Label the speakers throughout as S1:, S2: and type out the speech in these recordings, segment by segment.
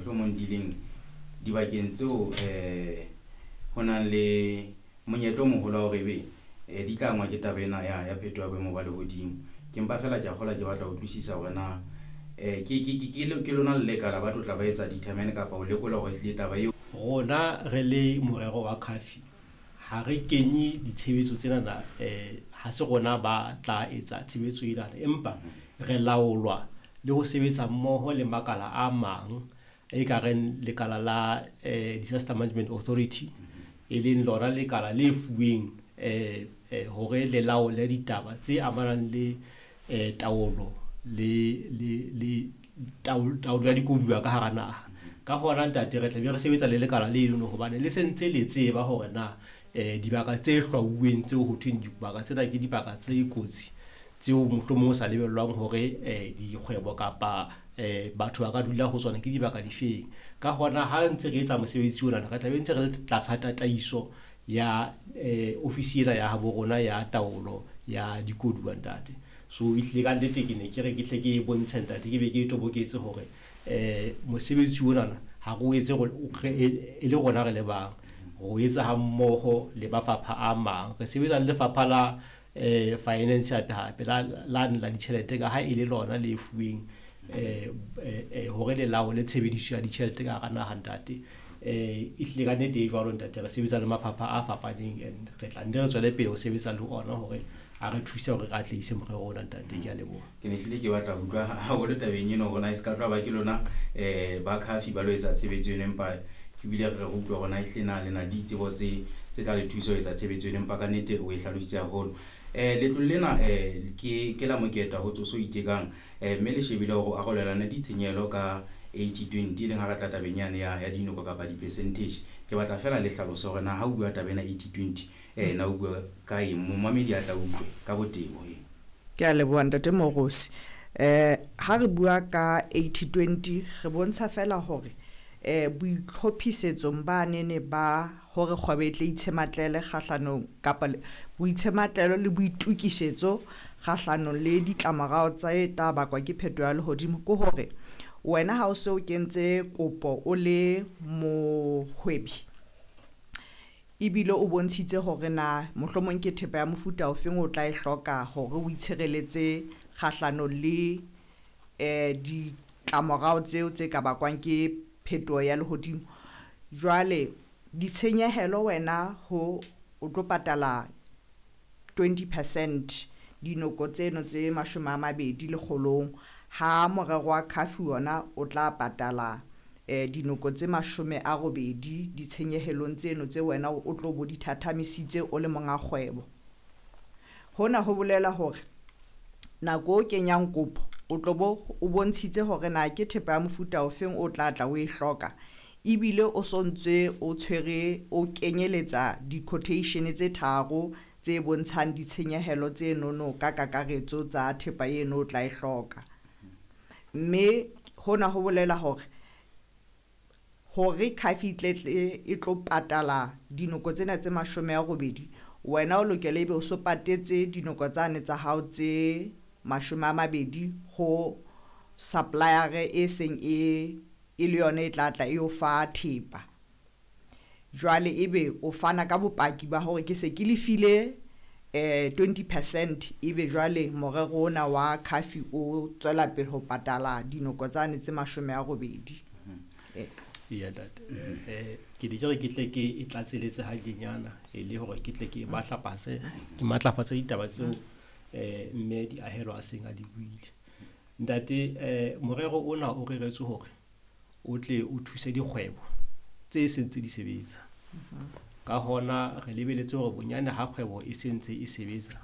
S1: Mohlomong di leng dibakeng tseo ho nang le monyetla o moholo wa hore ebe di tla angwa ke taba ena ya phetoho ya boemo ba lehodimo. Ke mpa feela ke a kgolwa ke batla ho utlwisisa hore na ke lona le lekala ba tlo tla ba etsa determine kapa ho lekola hore ehlile taba eo.
S2: Rona re le morero wa CAFI ha re kenye ditshebetso tsenana, ha se rona ba tla etsa tshebetso enana, empa re laolwa le ho sebetsa mmoho le makala a mang e ka reng lekala la Disaster Management Authority, e leng lona lekala le fuweng hore le laole ditaba tse amanang le taolo le taolo ya dikoduwa ka hara naha. Ka hona ntate re tla be re sebetsa le lekala le leno hobane le sentse le tseba hore na dibaka tse hlwauweng tseo ho thweng dibaka tsena ke dibaka tse kotsi tseo mohlomong o sa lebellwang hore dikgwebo kapa batho ba ka dula ho tsona ke dibaka difeng. Ka hona ha ntse re etsa mosebetsi ona re tla be ntse re le tlasa tataiso ya ofisi ena ya habo rona ya taolo ya dikoduwa ntate. So ehlile ka nnete ke ne ke re ke tle ke bontshe ntate, ke be ke toboketse hore mosebetsi onana ha re o etse e le rona re le bang, re o etsa ha mmoho le mafapha a mang. Re sebetsa le lefapha la finance hape hape la la ditjhelete ka ha e le lona le fuweng hore le laole tshebediso ya ditjhelete ka hara naha ntate. Ehlile ka nnete e jwalo ntate, re sebetsa le mafapha a fapaneng and re tla nne re tswele pele ho sebetsa le ona hore a re thuse hore re atlehise morero ona ntate. Ke a leboha.
S1: Ke ne hlile ke batla ho utlwa haholo tabeng eno hore na e se ka tloha ba ke lona ba CAFI ba lo etsa tshebetso eno, empa ebile re utlwa hore na ehlile na le na le ditsebo tse tla le thusa ho etsa tshebetso eno, empa ka nnete o e hlalositse haholo. Letlole lena ke la moketa ho tsoso itekang, mme le shebile hore o arolelane ditshenyehelo ka 80-20, e leng ha re tla tabeng yane ya dinoko kapa di-percentage. Ke batla feela le hlalose hore na ha o bua taba ena 80-20, na o bua ka eng, momamedi a tla utlwe ka botebo.
S3: Ke a leboha ntate Morosi. Ha re bua ka 80-20 re bontsha fela hore boitlhophisetsong ba nene ba hore kgwebo e tle itshematlele kgahlanong kapa boitshematlelo le boitukisetso kgahlanong le ditlamorao tse tla bakwa ke phetoho ya lehodimo, ke hore wena ha o se o kentse kopo o le mohwebi ebile o bontshitse hore na mohlomong ke thepa ya mofuta ofeng o tla e hloka hore o itshireletse kgahlanong le ditlamorao tseo tse ka bakwang ke phetoho ya lehodimo. Jwale ditshenyehelo wena ho o tlo patala 20% dinoko tseno tse 20 lekgolong, ha morero wa CAFI ona o tla patala dinoko tse 80 ditshenyehelong tseno tse wena o tlo bo di thathamisitse o le monga kgwebo. Hona ho bolela hore nako o kenyang kopo o tlo bo o bontshitse hore na ke thepa ya mofuta ofeng o tla tla o e hloka, ebile o sontse o tshwere o kenyeletsa di-quotation tse tharo tse bontshang ditshenyehelo tse nono ka kakaretso tsa thepa eno o tla e hloka. Mme hona ho bolela hore hore CAFI tletle e tlo patala dinoko tsena tse 80, wena o lokela ebe o so patetse dinoko tsane tsa hao tse 20 ho supplier e seng e le yona e tla tla e o fa thepa. Jwale ebe o fana ka bopaki ba hore ke se ke lefile 20%, ebe jwale morero ona wa CAFI o tswela pele ho patala dinoko tsane tse 80.
S2: Ya ntate, ke ne ke re ke tle ke e tlatseletse hanyenyana e le hore ke tle ke matlafatse ke matlafatse ditaba tseo mme di ahelo a seng a di buile. Ntate, morero ona o reretswe hore o tle o thuse dikgwebo tse sentse di sebetsa. Ka hona re lebeletse hore bonyane ha kgwebo e sentse e sebetsa,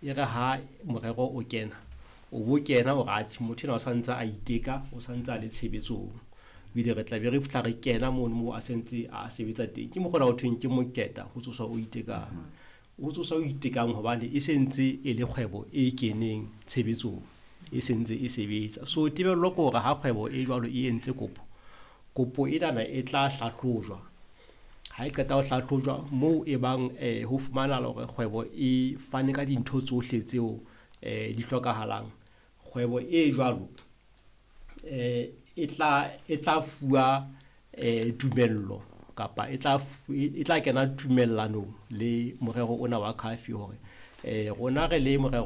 S2: e re ha morero o kena, o bo kena hore atjhe motho enwa o santse a iteka, o santse a le tshebetsong. Ebile re tla be re fihla re kena mono moo a sentse a sebetsa teng. Ke mokgwa o thweng ke moketa ho tsoswa o itekang. O tsoswa o itekang hobane e sentse e le kgwebo e keneng tshebetsong, e sentse e sebetsa. So tebello ke hore ha kgwebo e jwalo e entse kopo, kopo enana e tla hlahlojwa. Ha e qeta ho hlahlojwa moo e bang ho fumanahala hore kgwebo e fane ka dintho tsohle tseo di hlokahalang. Kgwebo e jwalo e tla fuwa tumello kapa e tla kena tumellanong le morero ona wa CAF hore rona re le morero.